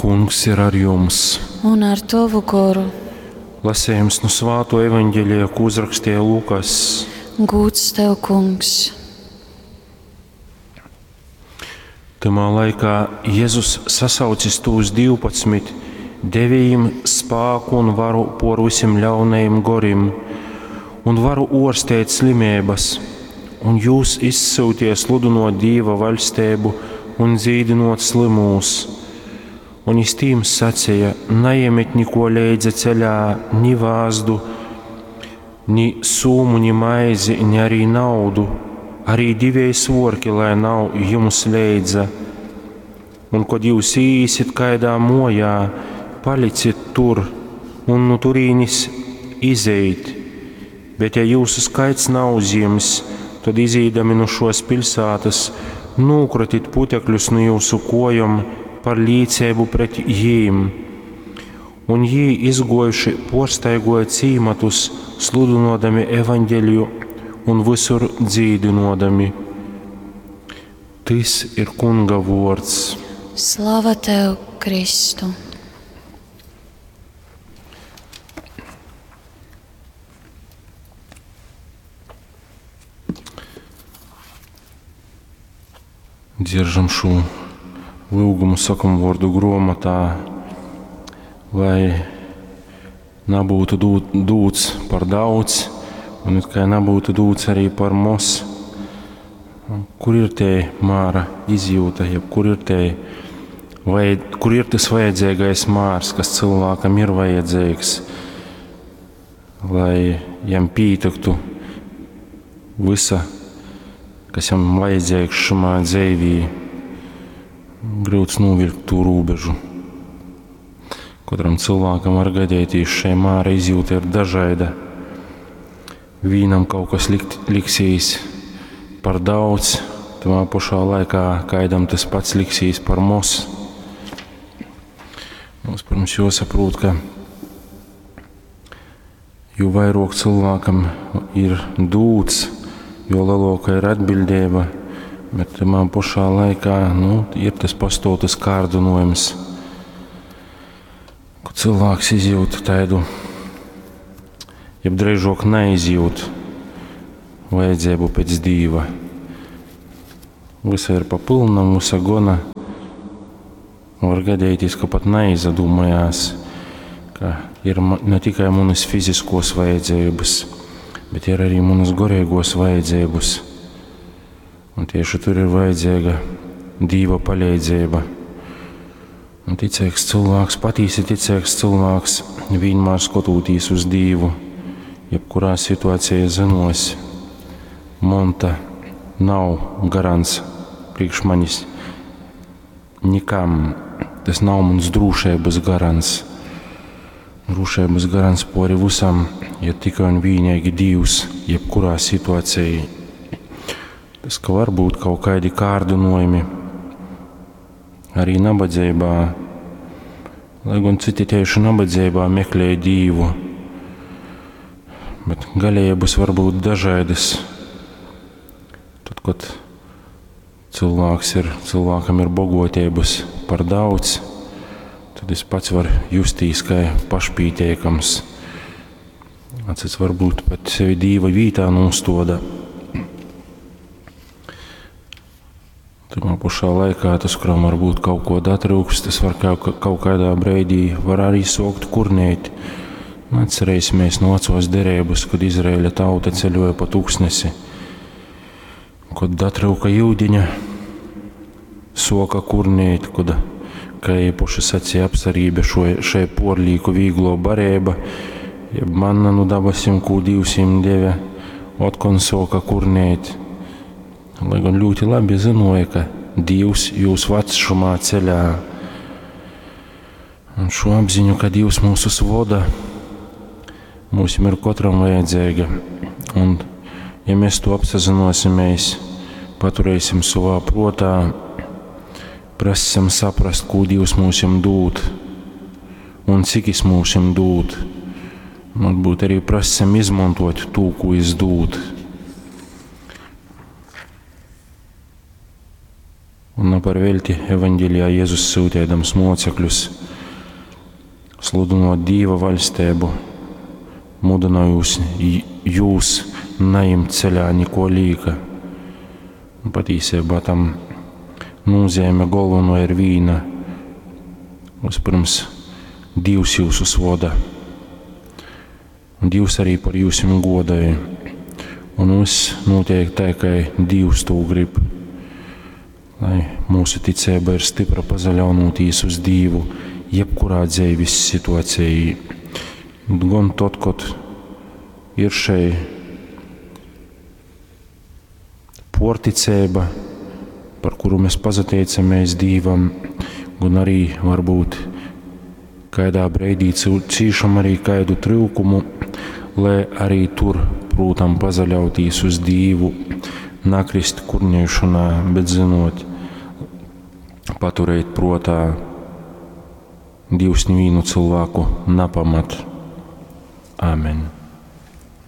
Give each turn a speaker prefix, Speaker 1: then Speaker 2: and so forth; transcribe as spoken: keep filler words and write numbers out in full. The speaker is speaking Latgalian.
Speaker 1: Kungs ir ar jums.
Speaker 2: Un ar tovu goru.
Speaker 1: Lasējums nu Svāto evaņģelija, ko uzrakstīja Lukas.
Speaker 2: Gūds tev, Kungs.
Speaker 1: Tamā laikā Jēzus sasaucis tūs divpadsmit, deva jim spāku un varu por visiem ļaunajiem gorim, un varu orstēt slimības, un jūs izsūtie sludinot Dīva vaļstību un dzīdinot slimūs. Un jis tīm sacīja: naiemiet niko leidza ceļā, ni vāzdu, ni sūmu, ni maizi, ni arī naudu, arī divēji svorki, lai nav jums leidza. Un, kad jūs īsit kaidā mojā, palicit tur, un nu turīnis izejit. Bet ja jūsu skaits nav uzjims, tad izīdami no šos pilsētas, nūkratit putekļus no jūsu kojom par līdzību pret jīm. Un jī izgojuši porstaigoja cīmatus, sludinodami evaņģeliju un visur dzīdinodami. Tis ir Kunga vords.
Speaker 2: Slava tev, Kristu!
Speaker 1: Dzieržam šo lūgumu sakumu vārdu grāmatā, lai nebūtu dūt, dūts par daudz, un it kā nebūtu dūts arī par maz. Kur ir te māra izjūta, jeb kur ir te, vai, kur ir tas vajadzīgais mārs, kas cilvēkam ir vajadzīgs, lai jam pītektu visa, kas jam vajadzīgs šumā dzīvī. Grūts novilkt to robežu. Katram cilvēkam var gadīties šai māra izjūta ir dažāda. Vīnam kaut kas likt, liksīs par daudz, tamā pašā laikā kaidam tas pats liksīs par maz. Mums, protams, jāsaprot, ka jo vairāk cilvēkam ir dūts, jo lielāka ir atbildība, bet tamā pašā laikā, nu, ir tas pastāv tas kārdinājums, ka cilvēks izjūt tādu, jeb drīzāk neizjūt vajadzību pēc Dīva. Visa ir pa pilnam, visa gona. Var gadīties, ka pat neizdomājās, ka ir ma-, ne tikai manas fiziskos vajadzības, bet ir arī manas garīgos vajadzības. Un tieši tur ir vajadzīga Dīva palīdzība. Un ticīgs cilvēks, patīsi ticīgs cilvēks, vienmēr skatoties uz Dīvu, jebkurā situācijā zinos, monta nav garants priekš manis nikam. Tas nav mans drošības garants. Drošības garants pori visam ir tikai un vienīgi Dievs, jebkurā situācijā. Tas, ka var būt kaut kādi kārdinājumi, arī nabadzībā, lai gan citi tieši nabadzībā meklē Dievu, bet galējības var būt dažādas. Tad, kad cilvēks ir, cilvēkam ir bogotības par daudz, tad es pats varu justīs kā pašpītiekams. Cits varbūt pat sevi Dīva vītā nostoda. Tamā pašā laikā tas, kuram varbūt kaut ko datrūks, tas var kaut, kaut kādā breidī var arī sokt kurnēt. Nu, atcerēsimies no vecos derības, kad Izraēļa tauta ceļoja pa tūkstnesi, kad datrūka jūdiņa, soka kurnēt, kad, kā īpaši sacīja apsarība šo, šai porlīku vīglo barēba, jeb manna nu dabasim, ko Dievs jim deve, otkon soka kurnēt. Lai gan ļoti labi zinoja, ka Dievs jūs ved šumā ceļā. Un šo apziņu, ka Dievs mūsus voda, mums ir katram vajadzīga. Un ja mēs to apsazinosimies, paturēsim savā protā, prasam saprast, ko Dievs mums dod un cik es mums dod. Un varbūt arī prasam izmantot to, ko es dod. Un ne par veļti evaņgelijā Jezus syuteidams mocekļus sludinot Dīva vaļsteibu, mudynojus jūs naimt ceļā niko līka. Un patīsībā tam nozīme galveno ir vīna. Vispirms Dievs jūsus voda. Un Dievs arī par jūsim godāja. Un viss notiek tā, kā Dievs to grib. Lai mūsu ticība ir stipra pazaļaunotīs uz Dievu jebkurā dzīves situācijā. Gan tad, kad ir šeit porticība, par kuru mēs pazateicamies Dievam, gan arī varbūt kādā brīdī cīšam arī kādu trūkumu, lai arī tur, prūtam, pazaļautīs uz Dievu, nakrist kurnēšanā, bet zinot, paturēt protā, Dievs nevienu cilvēku napamat. Āmen.